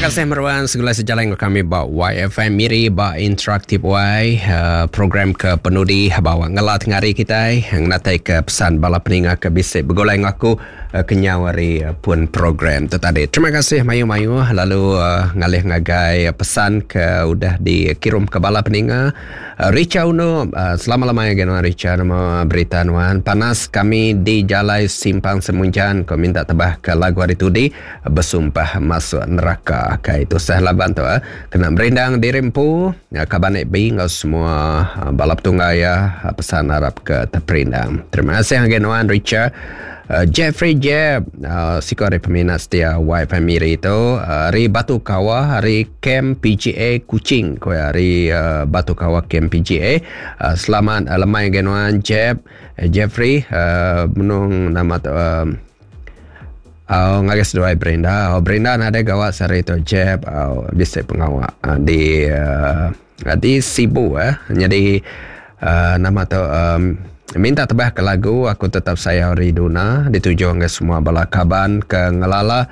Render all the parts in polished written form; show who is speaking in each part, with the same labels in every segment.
Speaker 1: kasih meruan segulai sejalai enggau kami ba YFM Miri ba Interaktif Y uh, program ke penudi bawa ngela tengari kitai ngenatai ke pesan bala peninga ke bisi begulai enggau aku uh, kenyau ari uh, pun program tu tadi. Terima kasih mayuh-mayuh lalu uh, ngalih ngagai pesan ke udah dikirum ke bala peninga. Richa Uno, Selamat lemai agi nuan Richa nama berita nuan. Panas kami di jalai Simpang Semunjan ko minta tebah ke lagu ari tudi besumpah masuk neraka. Kai tusah laban tu eh. Kena merindang diri empu kaban FB enggau semua bala petunggal iya pesan arap ke teperindang. Terima kasih agi nuan Richa. Jeffrey Jeb, siku ari peminat setia YFM Miri tu ari Batu Kawa ari Kem PGA Kuching ku iya ari Batu Kawa Kem PGA. Selamat lemai ngagai nuan Jeb, Jeffrey benung nama tu au ngagai seduai Brenda. Au Brenda nadai gawa sehari tu Jeb au bisi pengawa di di Sibu eh. Nyadi nama tu minta tebah ke lagu aku tetap sayau Riduna dituju ngagai semua bala kaban ke ngelala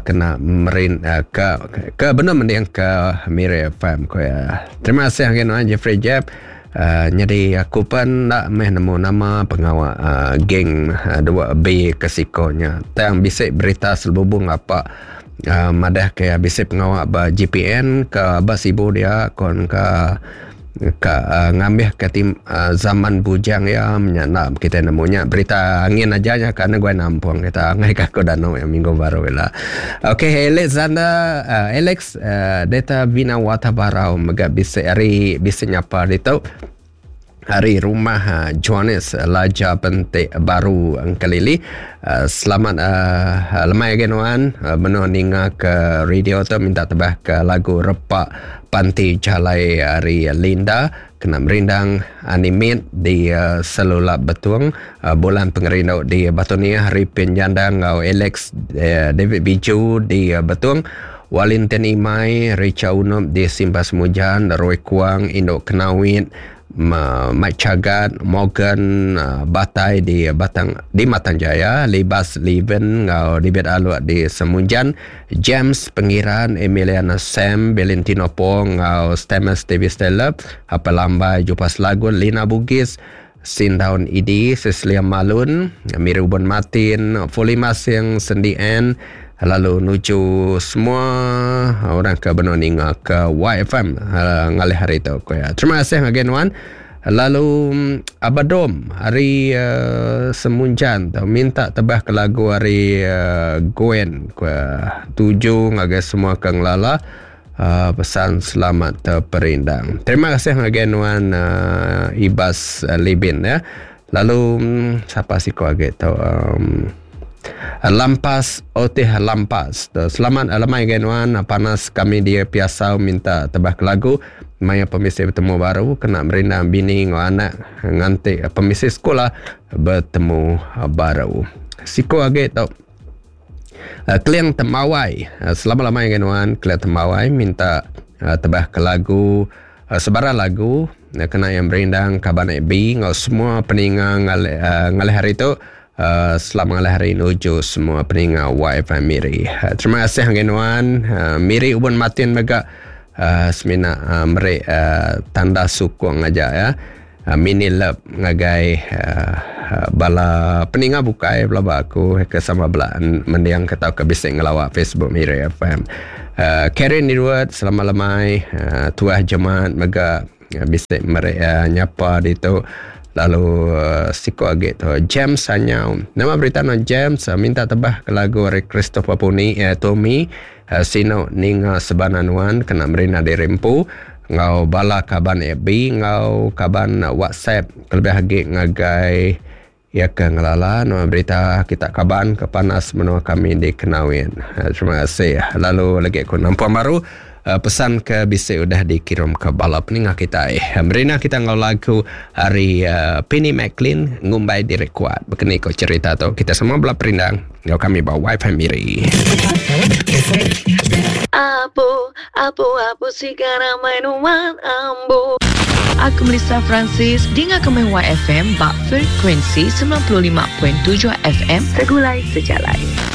Speaker 1: kena merin ke ke benung mending ke Miri FM ku iya. Terima kasih ngagai nuan Jeffrey Jeb. Nyadi aku pen enda meh nemu nama pengawa geng 2B ke siko nya. Tang bisi berita selubung apa madah ke bisi pengawa ba JPN ke ba Sibu dia kon ka ka ngambih ke tim zaman bujang iya nya enda kitai nemu nya berita angin aja nya ka negui nampung kita angai ka aku danu iya minggu baru ila. Okey Alexander Alex Data Vinawata Barau mega bisi ari bisi nyapa ditu. Ari rumah Johannes Laja Pentik Baru Engkelili. Selamat lemai agi nuan benung ninga ke radio tu minta tebah ke lagu Repa Panti Jalai ari Linda kena merindang Animit di Selulap Betung Bulan Pengerindu di Batu Niah Ripin Jandang enggau Alex David Biju di Betung Walintin Imai, Richa Unup di Simba Semujan, Roy Kuang, Indu Kenawit, Mike Chagat, Morgan Batai di Batang di Matang Jaya, Libas Leven enggau David Aluk di Semunjan, James Pengiran, Emiliana Sam, Valentino Pong enggau Stamus Davis Taylor, Apai Lambai Jupas Lagun, Lina Bugis, Sindaun Idi, Cecilia Malun, Miri Ubon Martin, Fuli Masing, Sendi Ann, lalu nuju semua orang ke benung ninga ke YFM ngalih hari tu ku iya. Terima kasih ngagai nuan. Lalu Abadom ari uh, Semunjan tu minta tebah ke lagu ari uh, Gwen ku iya. Tuju ngagai semua ke ngelala Pesan selamat terperindang. Terima kasih ngagai nuan uh, Ibas uh, Libin ya. Lalu um, siapa siko agi tu um, Lampas Otih Lampas. Selamat lemai ngagai nuan panas kami di Piasau minta tebah ke lagu maya pemisi betemu baru kena merindang bini enggau anak nganti pemisi sekula betemu baru. Siko agi tu Keling Tembawai. Selamat lemai ngagai nuan Keling Tembawai minta tebah ke lagu sebarang lagu kena iya merindang kaban FB enggau semua peninga ngalih ngalih hari tu selamat ngalih hari nuju semua peninga YFM Miri. Terima kasih ngagai nuan Miri Ubun Martin mega semina meri tanda sukung aja ya. Mini lep ngagai bala peninga bukai pelaba aku ke sama bela mending ke tauka bisi ngelawa Facebook Miri FM. Karen Edward selamat lemai tuah jemat mega bisi meri nyapa ditu lalu siku agi tu James Sanyau. Nama berita nuan James minta tebah ke lagu ari Christopher Puni Tommy Sinu ninga sebana nuan kena merina diri empu enggau bala kaban FB enggau kaban WhatsApp kelebih agi ngagai iya ke ngelala nuan berita kita kaban ke panas menua kami di Kenawin. Terima kasih. Lalu lagi aku nampung baru pesan ke bisi udah dikirum ke bala peninga kitai. Merina kita enggau lagu ari Penny McLean ngumbai diri kuat. Bekeni ko cherita tu kita semua bela perindang. Enggau kami ba Wifi Miri.
Speaker 2: Apu, apu, apu siga ramai nuan ambu.
Speaker 3: Aku Melissa Francis, dinga ke meh YFM ba frekuensi 95.7 FM Segulai Sejalai.